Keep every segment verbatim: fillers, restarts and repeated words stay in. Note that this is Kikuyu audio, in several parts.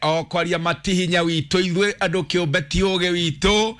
O kwaria matihinya witũ, ithuĩ andũ kĩũmbe ti ũgĩ witũ,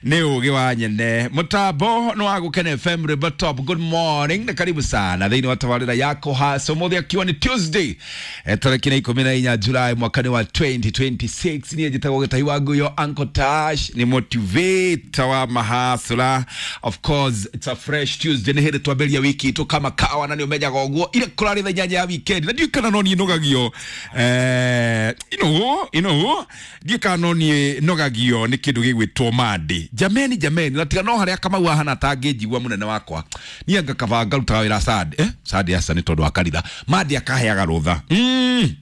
nĩ ũgĩ wa nyene. Mũtambo nĩ wa Gũkena F M, River Top. Good morning na karibu sana thĩinĩ wa tabarĩra yako hasa ũmũthĩ akiwa nĩ Tuesday, eh, tarĩki na ikũmi na inya Julai mwaka nĩ wa twenty twenty-six. Niĩ njĩtagwo Gĩtahi wa Nguyo, Uncle Tash, nĩ motivator wa mahasura. Of course it's a fresh Tuesday, nĩ hĩndĩ twambĩrĩria wiki itũ kama kawa, na nĩ ũmenyaga ũguo ile kũrarĩ thaa inyanya ya weekend, na ndiũĩ kana no niĩ nogagio, eh, ino ino ndiũĩ kana no niĩ nogagio nĩ kĩndũ gĩgwĩtwo Monday. Jameni, jameni, na tiga no harĩa Kamau ahana atangĩnjigua mũnene wakwa, niĩ anga kaba ngarutaga wĩra Sunday, eh Sunday aca, nĩ tondũ wa kanitha. Monday akaheaga rũtha mm.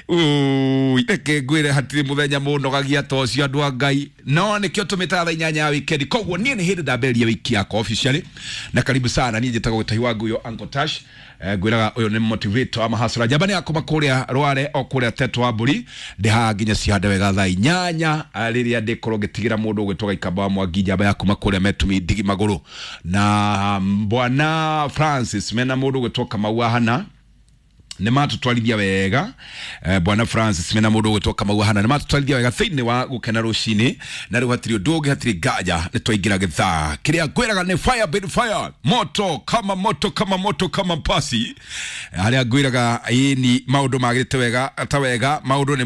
Ui, reke ngwĩre, hatirĩ mũthenya mũnogagia ta ũcio, andũ a Ngai, no nĩkĩo tũmĩtaga thaa inyanya ya weekend. Koguo niĩ nĩ hĩndĩ ndambĩrĩria wiki yakwa officially, na karibu sana. Niĩ njĩtagwo Gĩtahi wa Nguyo, Uncle Tash. eh, ngwĩraga ũyũ nĩ motivator wa mahasura, njamba nĩ yakuma kũrĩa Rware o kũrĩa Teto wa Mbũri. Ndĩ haha nginya cihande wega thaa inyanya, ah, rĩrĩa ndĩkorwo ngĩtigĩra mũndũ ũgwĩtwo Gaikamba wa Mwangi, njamba ya kuma kũrĩa Metumi Ndigi Magũrũ, na bwana Francis mena mũndũ ũgwĩtwo Kamau Ahana nä matåtwarithia wega. eh, bwana Francis mena må ndå å gwä two Kamau Ahana nä matåtwarithia wega thä inä wa gå kena rå cinä, na rä u hatirä å ndå å ngä, hatirä nganja, nä twaingä ra gä thaa kä rä a ngwäraga nä fire bin fire, moto kama moto kama moto kama pasi, harä a ngwä raga ĩni maå ndå magä rä te wega ta wega, maå ndå nä